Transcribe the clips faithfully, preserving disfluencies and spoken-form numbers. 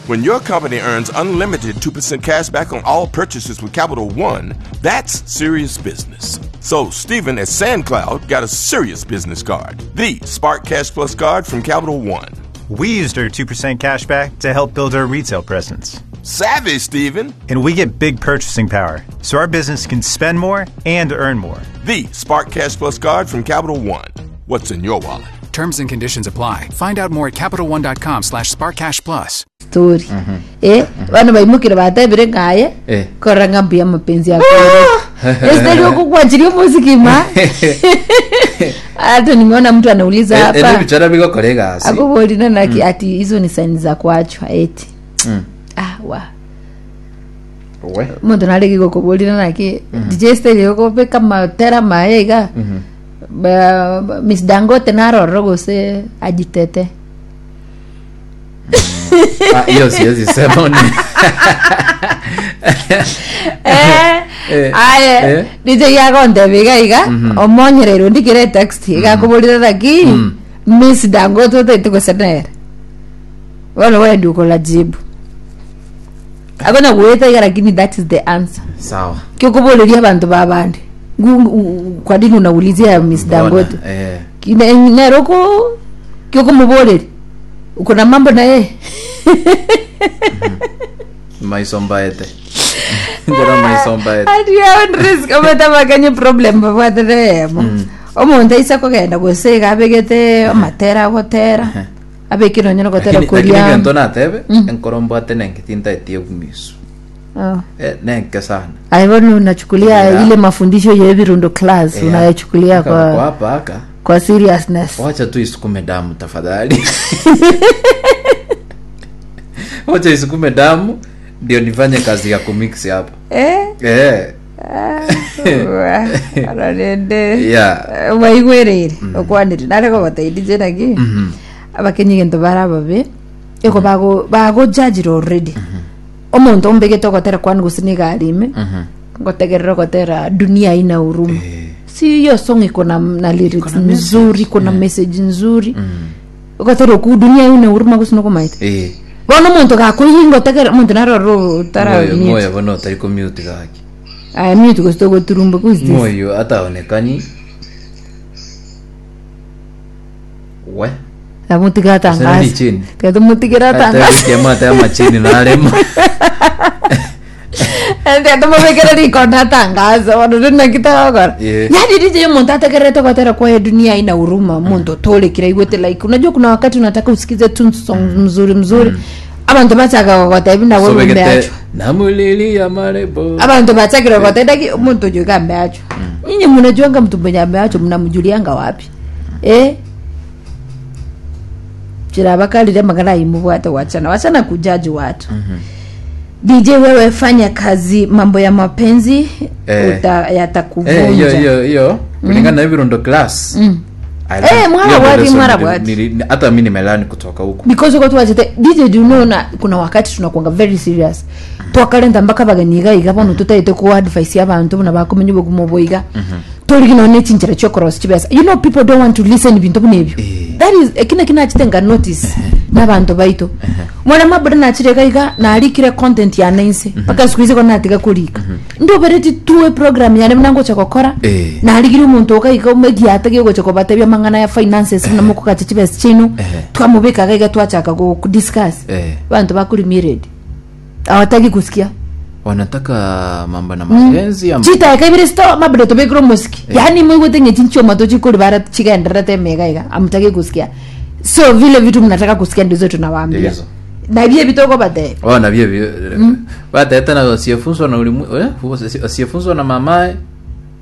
When your company earns unlimited two percent cash back on all purchases with Capital One, that's serious business. So, Steven at SandCloud got a serious business card, the Spark Cash Plus card from Capital One. We used our two percent cash back to help build our retail presence. Savvy, Steven. And we get big purchasing power, so our business can spend more and earn more. The Spark Cash Plus card from Capital One. What's in your wallet? Terms and conditions apply. Find out more at CapitalOne dot com slash SparkCashPlus. Story eh bana baimokire batebire ng'aye Eh. korora ng'a mbuya mapenzi yako esteri okokwanchiria omosikima. Hata nimeona mtu anauliza Eh, eh, hapa nebichora bigokora egasi. Akubolina naki ati hizo ni saini za kuachwa eti. Mm. Ah, wa We. omonto narege gokoborina naki D J Steri okobeka matera maye iga. Ba- ba- miss Dangote narororo gose ajitete. Ah, hiyo siwezi sema ni Eh, Eh, aye. eh. D J yagonteba iga iga omonyereirwe ndikire text igakuborire naki Miss Dangote otaite gose nere bono wendi ukola jibu akona gweta iga, lakini that is the answer. Sawa. Kiokuboreria abantu babandi. Ngu- kwa nini unaulizia Miss Mbona, Dangote? eh. Kine- neroko kiokumubore uko na mambo na yeye. Maisombaete njora maisombaete. Ati own risk ometabakanye problem babwateremo omonto aisa kogenda gose iga abegete amatera agotera abekire onye nogotera Lakini kuria. gento natebe enkoro mbwate nenke tintaetie obumisu. Oh. Eh, nenke sana. Aye, bono unachukulia Yeah. ile mafundisho ya Ebirundo class, Yeah. unayachukulia Aka- kwa kwa hapa aka kwa seriousness. Wacha tu isukume damu tafadhali, wacha isukume damu ndio nifanye kazi ya kumix hapa. Eh. Eh. Ararende yeah waigwereire okwanire nare kogoteithie naki abakenyi gento bara babe eko bago bagojajire already omonto ombegete ogotera kwani gose niga ime ngotegerera ogotera "Dunia Haina Huruma". Eh. Si hiyo song iko na, na lyrics nzuri, iko na message nzuri, ogotera oku "Dunia Haina Huruma" gose nokomaete. Eh. Bono omonto gakoiyi ngotegera omonto naroro tara Moyo mute. Moyo bono utari kumute gaki. Aya, mute gose togoturumba. Who is this? Moyo hata onekani we. Amutigera Sasa ni tangaza. chini. Tiga tumutigera tangaza. Kemata ya machini naremo. Tiga tumubikire riko na tangaza bono rinakitagokora. Yeah. Yani D J, omuntu ategerete gotera kwa "Dunia Haina Huruma", muntu otorekire aigwete like unajua kuna wakati unataka usikize tu song mzuri mzuri, abantu bachaka gogotebi nawe Sobegete umeachwa. Namulilia marebo. Abantu bachakire gotendaki omuntu oyo iga ameachwa. Nyinyi mnajuanga mtu mwenye ameachwa mnamjulianga wapi? Eh, chirabakalire magana imubwate wachana wachana kujaji watu. D J, wewe fanya kazi, mambo ya mapenzi Eh. uta, yatakuvunja. Eh, hiyo hiyo hiyo kulingana na Ebirundo class. I Eh, learned- mwara hiyo ndio bwati, lesson mwara nili- bwati. nili- hata mi nimelearn kutoka huko. Because uko twachete D J, do you know na kuna wakati tunakuanga very serious twakarenta mpaka bageni iga iga bono tutaite ku advice abantu buna bakumenya obugumo bwiga torigino ne chinchera chio cross chibesa. You know people don't want to listen bintu buna ebyo. Eh. That is ekina kinachitenga notice n'abantu baitu mwana mabura nachireka iga narikire content ya nense mpaka siku hizi konatiga kurika ndobereti tuwe program yane mnangocha gokora. Eh. Narigire omonto okaika omegiate gegocha kobatebia mang'ana ya finances buna mokogacha chibesa chinu. Ehe. Twamubikaga iga twachaka go discuss. Eh. Bantu bakuri hawataki kusikia. Wanataka mambo na mapenzi ama Chitaeka ibere sto mabere tobekire omosiki yani mwigwete ng'e chinchoma tochikori bara chigendererete emega iga amutaki kusikia. So vile vitu mnataka kusikia ndizo tunawaambia. Ndizo. Na bie bitoko batebe. Oh, na vile bateta na asiyefunzwa na ulimwengu, eh, asiyefunzwa na mamae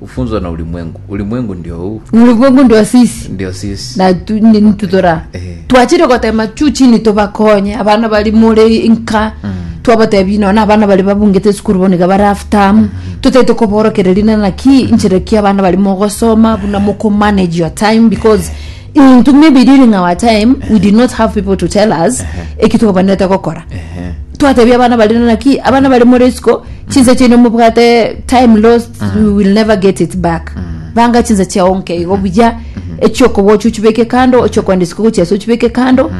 hufunzwa na ulimwengu. Ulimwengu ndio huu. Ulimwengu ndio sisi. Ndio sisi. Na tu- ni- tutora Eh. twachire gotema chu chini tubakonye abana bari muri nka twabatebi nona abana bari babungete esukuru bono iga bari half term tutaite koborokereria na naki inchera ki abana bari mogosoma buna moko manage your time, because into maybe during our time we did not have people to tell us eki tukobanete gokora. Ehe. Twatebia abana bari naki abana bari muri isiko chinse chino mubwate time lost, we will never get it back. Banga chinse chiaonke igo buya ekyokobocha ochibeke kando ekyokwenda isiko gochiesa ochibeke kando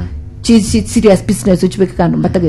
chi- chi- serious business ochibeke kando mbatagete.